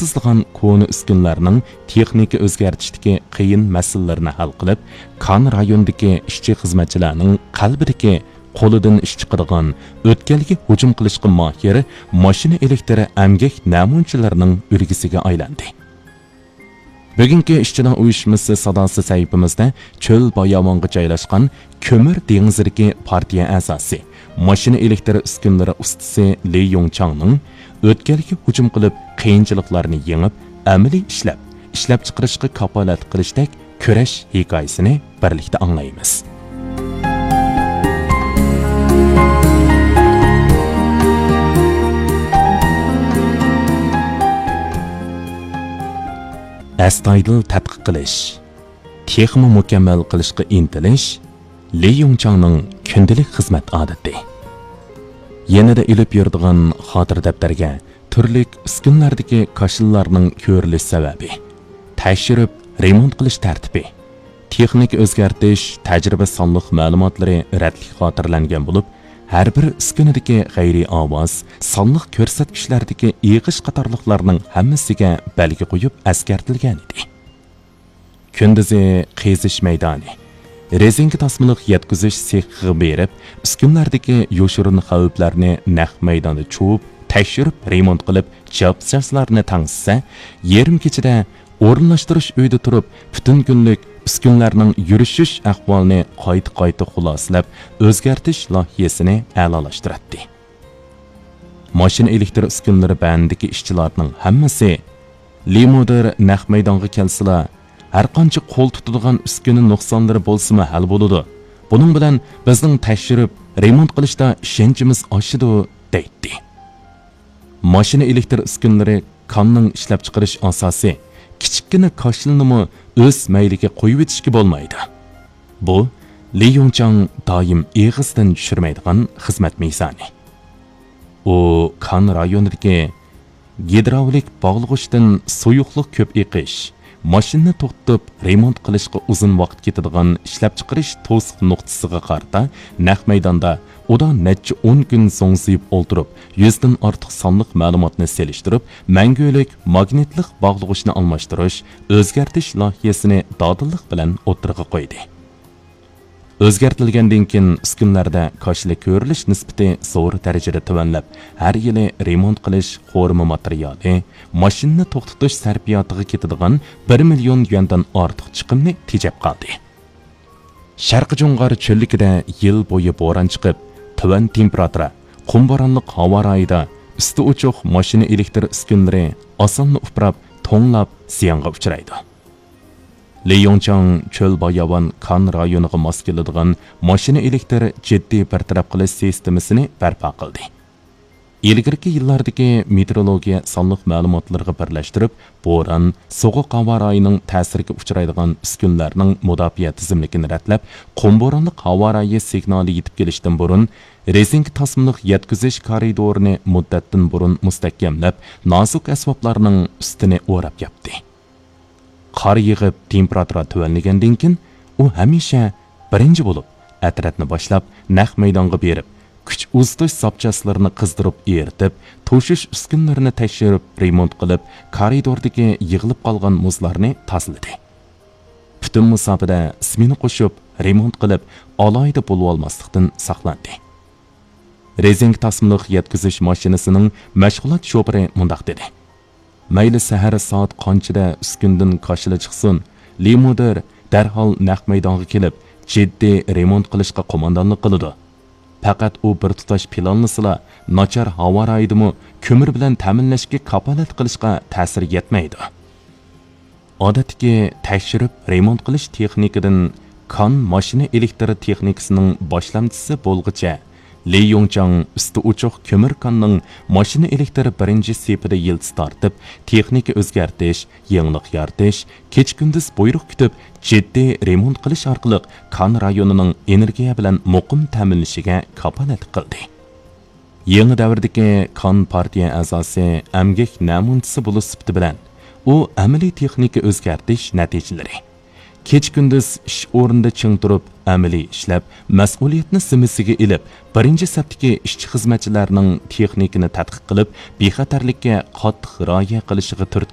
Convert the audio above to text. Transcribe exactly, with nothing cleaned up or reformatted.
يېتىشمەيدىغان كونا ئۈسكۈنىلەرنىڭ تېخنىكا ئۆزگەرتىشتىكى قىيىن مەسىلىلىرىنى ھەل قىلىپ، كان رايونىدىكى ئىشچى-خىزمەتچىلەرنىڭ قەلبىدىكى قولىدىن ئىش چىقىدىغان، ئۆتكەلگە ھۇجۇم قىلىشقا ماھىر ماشىنا ئېلېكتر ئەمگەك نەمۇنىچىلىرىنىڭ ئۈلگىسىگە ئايلاندى. بۈگۈنكى ئىشچىلار ئۇيۇشمىسى ساداسى سەھىپىمىزدە چۆل باياۋانغا جايلاشقان كۆمۈر دېڭىزىدىكى پارتىيە ئەزاسى، ماشىنا ئېلېكتر ئۈسكۈنىلىرى ئۇستىسى لى يۇڭچاڭنىڭ ئۆتكەلگە ھۇجۇم قىلىپ، قىيىنچىلىقلارنى يېڭىپ، ئەمەلىي ئىشلەپ، ئىشلەپچىقىرىشقا كاپالەتلىك قىلىشتەك كۈرەش ھېكايىسىنى بىرلىكتە ئاڭلايمىز. ئەستايىدىل تەتقىق قىلىش، تېخىمۇ مۇكەممەل قىلىشقا ئىنتىلىش لى يۇڭچاڭنىڭ كۈندىلىك خىزمەت ئادىتى. يېنىدا ئېلىپ يۈرىدىغان خاتىرە دەپتەرگە تۈرلۈك ئۈسكۈنىلەردىكى كاشىلىلارنىڭ كۆرۈلۈش سەۋەبى، تەكشۈرۈپ رېمونت قىلىش تەرتىپى، تېخنىكا ئۆزگەرتىش، تەجرىبە سانلىق مەلۇماتلىرى رەتلىك خاتىرىلەنگەن بولۇپ، ھەر بىر ئۈسكۈنىدىكى غەيرىي ئاۋاز، سانلىق كۆرسەتكۈچلەردىكى ئېغىش قاتارلىقلارنىڭ ھەممىسىگە بەلگە قويۇپ ئەسكەرتىلگەنىدى. كۈندۈزى قېزىش مەيدانى، رېزىنكا تاسمىلىق يەتكۈزۈش سېخىغا بېرىپ، ئۈسكۈنىلەردىكى يوشۇرۇن خەۋپلەرنى نەق مەيداندا چۇۋۇپ، تەكشۈرۈپ، رېمونت قىلىپ، جاپجاسلارنى تەڭشىسە، يېرىم كېچىدە ئورۇنلاشتۇرۇش ئۆيىدە تۇرۇپ، پۈتۈن كۈنلۈك ئۈسكۈنىلەرنىڭ يۈرۈشۈش ئەھۋالىنى قايتا-قايتا خۇلاسىلەپ، ئۆزگەرتىش لايىھەسىنى ئەلالاشتۇراتتى. ماشىنا ئېلېكتر ئۈسكۈنىلىرى بەندىكى ئىشچىلارنىڭ ھەممىسى، لى مۇدىر نەق مەيدانغا كەلسىلا، ھەرقانچە قول تۇتىدىغان ئۈسكۈنە نۇقسانلىرى بولسىمۇ ھەل بولىدۇ. بۇنىڭ بىلەن بىزنىڭ تەكشۈرۈپ، رېمونت قىلىشتا ئىشەنچىمىز ئاشىدۇ، دەيتتى. ماشىنا ئېلېكتر ئۈسكۈنىلىرى كاننىڭ ئىشلەپچىقىرىش ئاساسى، كىچىككىنە كاشىلىنىمۇ ئۆز مەيلىگە قويۇۋېتىشكە بولمايدۇ. بۇ، لى يۇڭچاڭ دائىم ئېغىزدىن چۈشۈرمەيدىغان خىزمەت مىزانى. ئۇ كان رايونىدىكى گىدراۋلىك باغلىغۇچتىن سۇيۇقلۇق كۆپ ئېقىش، ماشىنىنى توختىتىپ رېمونت قىلىشقا ئۇزۇن ۋاقىت كېتىدىغان ئىشلەپچىقىرىش توسۇق نۇقتىسىغا قارىتا نەق مەيداندا ئۇدا نەچچە ئون كۈن زوڭزىيىپ ئولتۇرۇپ، يۈزدىن ئارتۇق سانلىق مەلۇماتنى سېلىشتۇرۇپ، مەڭگۈلۈك ماگنىتلىق باغلىغۇچنى ئالماشتۇرۇش، ئۆزگەرتىش لايىھەسىنى دادىللىق بىلەن ئوتتۇرىغا قويدى. ئۆزگەرتىلگەندىن كېيىن ئۈسكۈنىلەردە كاشىلا كۆرۈلۈش نىسبىتى زور دەرىجىدە تۆۋەنلەپ، ھەر يىلى رېمونت قىلىش قورۇما ماتېرىيالى، ماشىنىنى توختىتىش سەرپىياتىغا كېتىدىغان بىر مىليون يۈەندىن ئارتۇق چىقىمنى تېجەپ قالدى. شەرقىي جۇڭغار چۆللۈكىدە يىل بويى بوران چىقىپ، تۆۋەن تېمپېراتۇرا، قۇم بورانلىق ھاۋا رايىدا ئۈستى ئوچۇق ماشىنا ئېلېكتر ئۈسكۈنىلىرى ئاسانلا ئۇپراپ، توڭلاپ زىيانغا ئۇچرايدۇ. لى يۇڭچاڭ چۆل باياۋان كان رايونىغا ماس كېلىدىغان ماشىنا ئېلېكتر جىددىي بىر تەرەپ قىلىش سىستېمىسىنى بەرپا قىلدى. ئىلگىرىكى يىللاردىكى مېتېئورولوگىيە سانلىق مەلۇماتلىرىغا بىرلەشتۈرۈپ، بوران، سوغۇق ھاۋا رايىنىڭ تەسىرىگە ئۇچرايدىغان ئۈسكۈنىلەرنىڭ مۇداپىئە تىزىملىكىنى رەتلەپ، قۇم بورانلىق ھاۋا رايى سىگنالى يېتىپ كېلىشتىن بۇرۇن، رېزىنكا تاسمىلىق يەتكۈزۈش كارىدورىنى مۇددەتتىن بۇرۇن مۇستەھكەملەپ، نازۇك ئەسۋابلارنىڭ ئۈستىنى ئوراپ ياپتى. قار يېغىپ، تېمپېراتۇرا تۆۋەنلىگەندىن كېيىن، ئۇ ھەمىشە بىرىنچى بولۇپ، ئەترەتنى باشلاپ، نەق مەيدانغا بېرىپ، كۈچ ئۇزىتىش زاپچاسلىرىنى قىزدۇرۇپ ئېرىتىپ، توشۇش ئۈسكۈنىلىرىنى تەكشۈرۈپ، رېمونت قىلىپ، كارىدوردىكى يىغىلىپ قالغان مۇزلارنى تازىلىدى. پۈتۈن مۇساپىدە سمېنا قوشۇپ، رېمونت قىلىپ، ئالاھىدە بولۇۋالماسلىقتىن ساقلاندى. رېزىنكا تاسمىلىق يەتكۈزۈش ماشىنىسىنىڭ مەشغۇلات شوپۇرى مۇنداق دېدى: مەيلى سەھەر سائەت قانچىدە ئۈسكۈندىن كاشىلا چىقسۇن، لى مۇدىر دەرھال نەق مەيدانغا كېلىپ، جىددىي رېمونت قىلىشقا قوماندانلىق قىلىدۇ. پەقەت ئۇ بىر تۇتاش پىلانلىسىلا، ناچار ھاۋا رايىدىمۇ كۆمۈر بىلەن تەمىنلەشكە كاپالەتلىك قىلىشقا تەسىر يەتمەيدۇ. ئادەتتىكى تەكشۈرۈپ رېمونت قىلىش تېخنىكىدىن كان ماشىنا ئېلېكتر تېخنىكىسىنىڭ باشلامچىسى بولغۇچە، لى يۇڭچاڭ ئۈستى ئوچۇق كۆمۈر كاننىڭ ماشىنا ئېلېكتر بىرىنچى سېپىدە يىلتىز تارتىپ، تېخنىكا ئۆزگەرتىش، يېڭىلىق يارىتىش، كېچە-كۈندۈز بۇيرۇق كۈتۈپ، جىددىي رېمونت قىلىش ئارقىلىق كان رايونىنىڭ ئېنېرگىيە بىلەن مۇقىم تەمىنلىشىگە كاپالەتلىك قىلدى. يېڭى دەۋردىكى كان پارتىيە ئەزاسى ئەمگەك نەمۇنىچىسى بولۇش سۈپىتى بىلەن، ئۇ ئەمەلىي تېخنىكا ئۆزگەرتىش نەتىجىلىرى، كېچە-كۈندۈز ئىش ئورنىدا چىڭ تۇرۇپ، ئەمەلىي ئىشلەپ، مەسئۇلىيەتنى زىممىسىگە ئېلىپ، بىرىنچى سەپتىكى ئىشچى-خىزمەتچىلەرنىڭ تېخنىكىنى تەتقىق قىلىپ، بىخەتەرلىككە قاتتىق رىئايە قىلىشىغا تۈرتكە